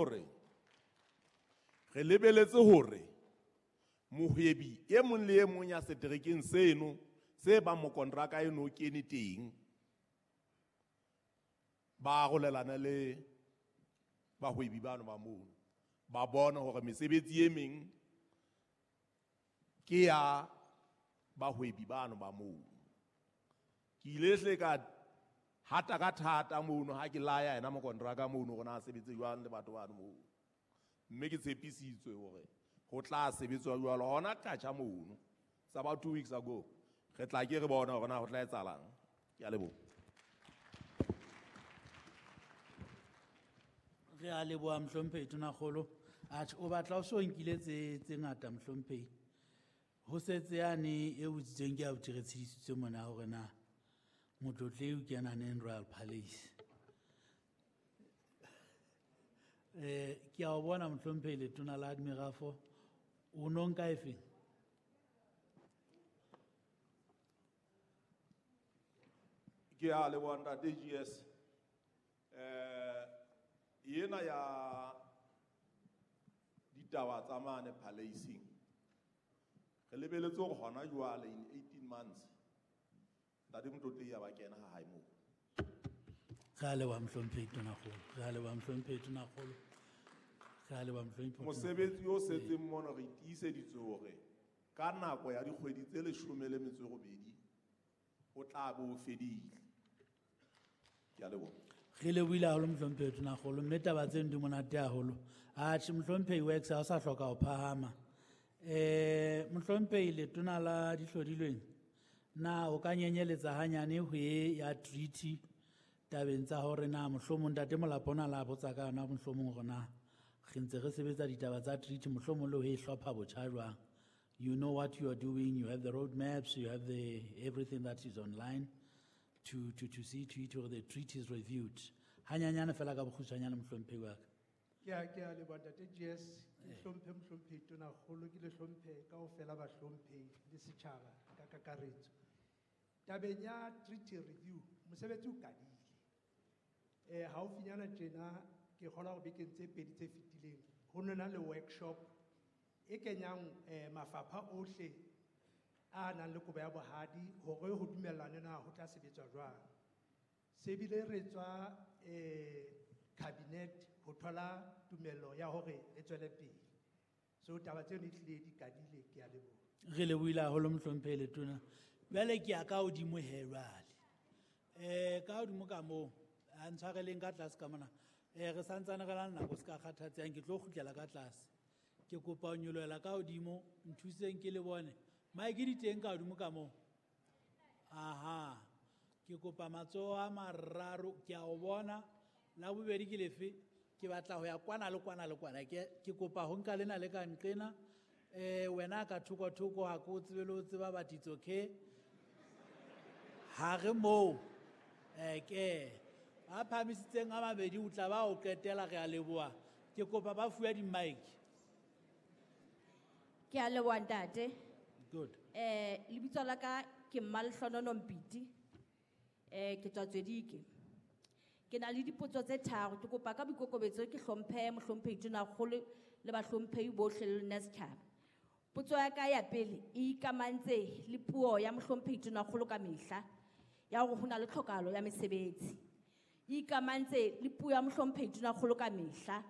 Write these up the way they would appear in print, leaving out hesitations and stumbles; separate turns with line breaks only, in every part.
Hore re lebeletse hore mohwebi e mong le e mong ya seterekeng seno se bang mokontraka eno o kene teng, ba arolelane le bahwebi bano ba mono, ba bone hore mesebetsi e meng ke ya bahwebi bano ba mono. Ke ile hle ka hata ka thata mono ha ke laya yena mokontraka mono hore na sebetse jwang le batho bano mono, mme ke tshepisitswe hore ho tla sebetswa jwalo hona katjha mono. It's about 2 weeks ago. Re tla ke re bona hore na ho tla etsahalang. Ke a leboha.
Re a leboha mohlomphehi Tonakgolo. Atjhe, o batla o so nkile tse ngata mohlomphehi. Ho setse yane e botsitsweng ke abuti re tshedisitswe mona hore na motlotlehi o kena neng Royal Palace. Ke a o bona mohlomphehi letona la Admirafo, o no nka efeng?
Ke a leboha ntate GS. Ena ya ditaba tsa mane Palace-ing, re lebeletse hore hona jwale in 18 months ntate Motlotlehi a ba kena ha hae moo.
Re a leboha mohlomphehi Tonakgolo, re a leboha mohlomphehi Tonakgolo, re a leboha mohlomphehi Tonakgolo.
Mosebetsi o setseng mono re tiiseditswe hore ka nako ya dikgwedi tse leshome le metso e robedi o tla bo o fedile. Ke a leboha.
Re lebohile haholo mohlomphehi Tonakgolo, mme taba tseno di monate haholo. Atjhe, mohlomphehi Works ha o sa hloka ho phahama. Mohlomphehi letona la dihlodilweng, na o ka nyenyeletsa hanyane ho e ya treaty tabeng tsa hore na mohlomong ntate Molapo ona la botsa ka yona, mohlomong hore na re ntse re sebetsa ditaba tsa treaty, mohlomong le ho e hlopha botjha jwang? You know what you are doing, you have the road maps, you have the everything that is online to see to it or the treaty is reviewed. Hanyanyane fela ka bokgutshwanyane mohlomphehi wa ka.
Ke a leboha ntate GS, ke hlomphe mohlomphehi Tonakgolo, ke le hlomphe kaofela bahlomphehi le setjhaba ka kakaretso. Tabeng ya treaty review, mosebetsi o qadile. Haufinyana tjena ke kgolwa hore bekeng tse pedi tse fetileng ho no na le workshop e kenyang mafapha ohle a nang le kobo ya bohadi hore ho dumellane na ho tla sebetswa jwang. Se bile re tswa cabinet ho thola tumello ya hore re tswele pele. So taba tseno e hlile di qadile, ke a leboha.
Re lebohile haholo mohlomphehi letona. Jwale ke ya ka hodimo he jwale. Ka hodimo ka moo, a ntshwareleng ka tlase ka mona. Re santsane re na le nako, se ka kgathatsehang, ke tlo kgutlela ka tlase. Ke kopa ho nyolohela ka hodimo, nthuseng ke le bone. Mike di teng ka hodimo ka moo? Aha. Ke kopa matsoho a mararo, ke a o bona. La bobedi ke lefe? Ke batla ho ya kwana le kwana le kwana. Ke kopa ho nka lena le ka nqena. Wena ka thoko thoko ha ke o tsebe le ho tseba, but it's okay. Ha re moo. Ke ba phahamisitseng a mabedi o tla ba o qetela, re a leboha. Ke kopa ba fuwe di-mic.
Ke a leboha ntate.
Good.
Lebitso la ka ke Mmalehlonono Mpiti. Ke tswa Tswedike. Ke na le dipotso tse tharo, ke kopa ka boikokobetso ke hlomphe mohlomphehi Tonakgolo le bahlomphehi bohle le lona setjhaba. Potso ya ka ya pele e ikamantse le puo ya mohlomphehi Tonakgolo ka mehla ya hore ho na le tlhokahalo ya mesebetsi. E ikamantse le puo ya mohlomphehi Tonakgolo ka mehla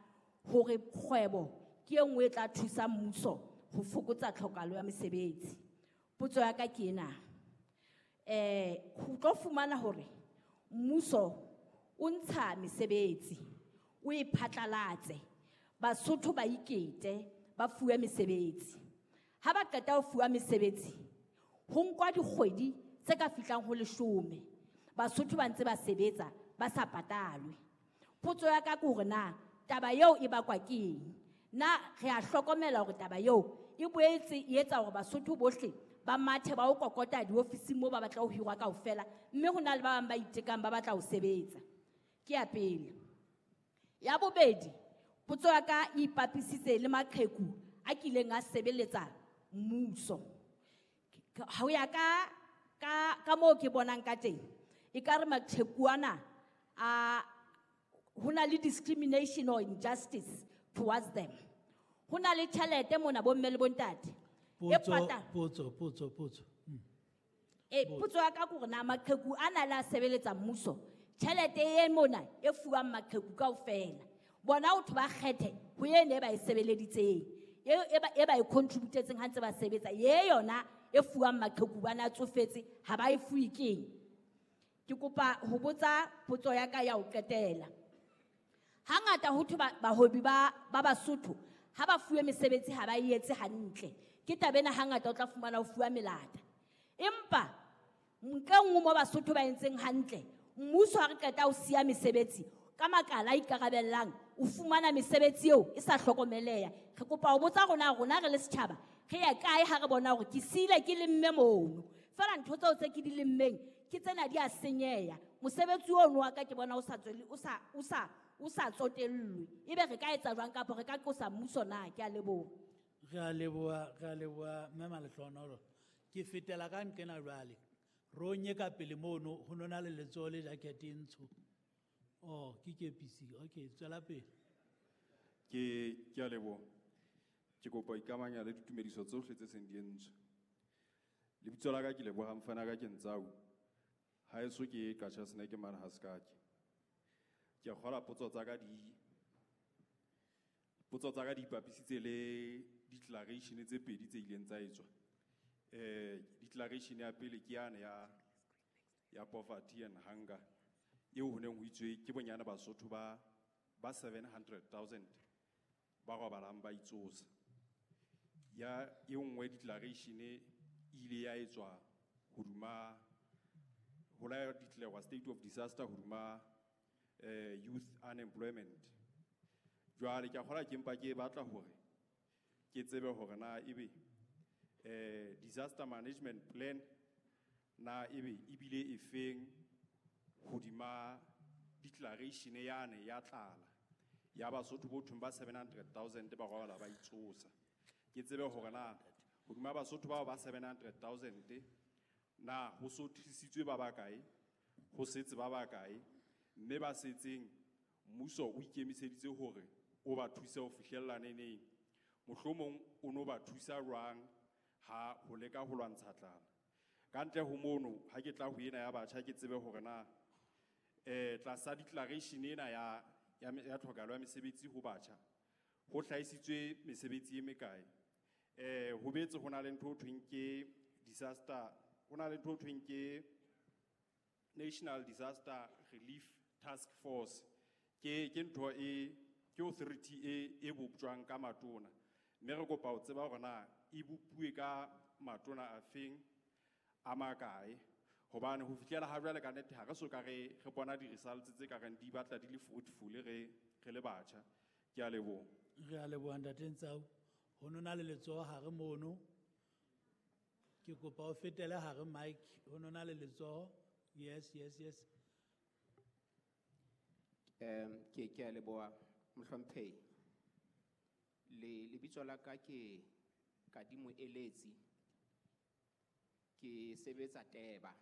hore kgwebo ke e nngwe e tla thusa mmuso ho fokotsa tlhokahalo ya mesebetsi. Potso ya ka ke ena. Ho tlo fumana hore mmuso o ntsha mesebetsi, o e phatlalatse, Basotho ba ikete, ba fuwe mesebetsi. Ha ba qeta ho fuwa mesebetsi, ho nkwa dikgwedi tse ka fihlang ho leshome. Basotho ba ntse ba sebetsa, ba sa patalwe. Potso ya ka ke hore na taba eo e bakwa ke eng? Na re a hlokomela hore taba eo e boetse e etsa hore Basotho bohle ba mathe ba o kokota diofising moo ba batla ho hirwa kaofela, mme ho na le ba bang ba itekang ba batla ho sebetsa. Ke ya pele. Ya bobedi, potso ya ka e ipapisitse le maqheku a kileng a sebeletsa mmuso. Ho ya ka moo ke bonang ka teng, ekare maqheku ana a ho na le discrimination or injustice towards them. Ho na le tjhelete mona bomme le bontate. E
Potso,
pata-
potso, potso, potso.
Potso ya ka ke hore na maqheku a na le a sebeletsa mmuso, tjhelete e mona e fuwang maqheku kaofela. Bona ho thwe ba kgethe ho ene e ba e sebeleditseng, e ba e contributetseng ha ntse ba sebetsa, ye yona e fuwang maqheku ba na tsofetse ha ba e fuwe keng? Ke kopa ho botsa potso ya ka ya ho qetela. Hangata ho thwe bahwebi ba Basotho ha ba fuwe mesebetsi ha ba e etse hantle. Ke taba ena hangata o tla fumana ho fuwa melata. Empa ntle nngwe mo Basotho ba entseng hantle, mmuso ha re qeta ho siya mesebetsi ka makala a ikarabellang, o fumana mesebetsi eo e sa hlokomeleha. Re kopa ho botsa rona re le setjhaba, re ya kae ha re bona hore ke siile ke lemme mono. Feela ntho tseo tse ke di lemmeng ke tsena di a senyeha. Mosebetsi ono wa ka ke bona o sa tswele, o sa, o sa, o sa tsotellwe. Ebe re ka etsa jwang kapa re ka qosa mmuso na? Ke a leboha.
Re a leboha, re a leboha, Mme Malehlohonolo. Ke fetela ka nqena jwale. Ronye ka pele mono, ho nona le letsoho le jacket e ntsho. Oh, ke kepisi. Okay, tswela pele.
Ke a leboha. Ke kopa ho ikamanya le ditumediso tsohle tse seng di entswe. Lebitso la ka ke Lebohang Mfana ka ke Ntsau. Haeso ke Qacha's Nek mane ha Sekake. Ke a kgolwa potso tsa ka di, potso tsa ka di ipapisitse le declaration tse pedi tse ileng tsa etswa. Declaration ya pele ke yane ya poverty and hunger, eo ho neng ho itswe ke bonyane Basotho ba 700,000 ba robalang ba itsosa. Ya e nngwe declaration e ile ya etswa hoduma ho la declare state of disaster hoduma youth unemployment. Jwale ke a kgolwa ke mpa ke batla hore ke tsebe hore na ebe disaster management plan na ebe ebile e feng hodima declaration yane ya tlala ya Basotho bo thweng ba 700,000 ba robala ba itsosa. Ke tsebe hore na hodima Basotho bao ba 700,000 na ho so thusitswe ba bakae, ho setse ba bakae, mme ba setseng mmuso o ikemiseditse hore o ba thuse ho fihlella neneng. Mohlomong o no ba thusa jwang ha ho leka ho lwantsha tlala. Ka ntle ho mono, ha ke tla ho ena ya batjha ke tsebe hore na tlasa declaration ena ya tlhokahalo ya mesebetsi ho batjha, ho hlahisitswe mesebetsi e mekae. Ho betse ho na le ntho ho thweng ke disaster, ho na le ntho ho thweng ke National Disaster Relief Task Force. Ke ntho e, ke authority e boptjwang ka matona. Mme re kopa ho tseba hore na e bopuwe ka matona a feng, a makae. Hobane ho fihlela ha jwale ka nnete ha re soka re bona di-results tse ka reng di batla di le fruitful re le batjha. Ke a leboha.
Re a leboha Ntate Ntsau. Ho nona le letsoho hare mono. Ke kopa o fetele hare mic. Ho nona le letsoho. Yes, yes, yes.
Ke a leboha mohlomphehi. Le lebitso la ka ke Kadimo Eletsi. Ke sebetsa Teba.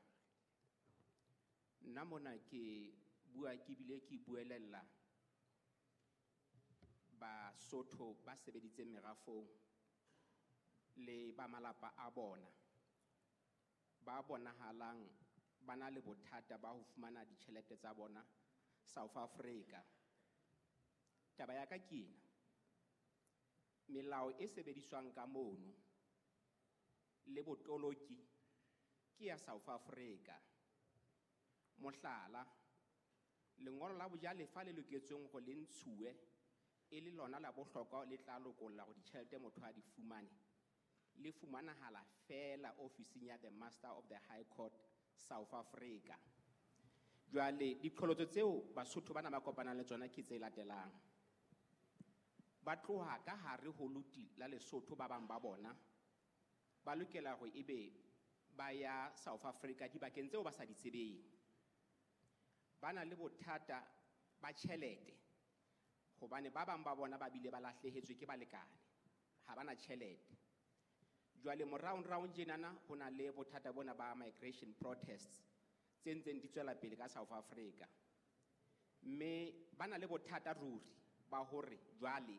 Nna mona ke bua ke bile ke buelella Basotho ba sebeditseng merafong le ba malapa a bona ba bonahalang ba na le bothata ba ho fumana ditjhelete tsa bona South Africa. Taba ya ka ke ena. Melao e sebediswang ka mono le botoloki ke ya South Africa. Mohlala, lengolo la bojalefa le loketsweng hore le ntshuwe e le lona la bohlokwa le tla lokolla hore ditjhelete motho a di fumane, le fumanahala feela ofising ya the Master of the High Court South Africa. Jwale diqholotso tseo Basotho bana ba kopanang le tsona ke tse latelang. Ba tloha ka hare ho loti la Lesotho ba bang ba bona ba lokela hore ebe ba ya South Africa dibakeng tseo ba sa di tsebeng. Ba na le bothata ba tjhelete hobane ba bang ba bona ba bile ba lahlehetswe ke balekane, ha ba na tjhelete. Jwale moraonraong tjenana ho na le bothata bona ba migration protests tse ntseng di tswela pele ka South Africa. Mme ba na le bothata ruri ba hore jwale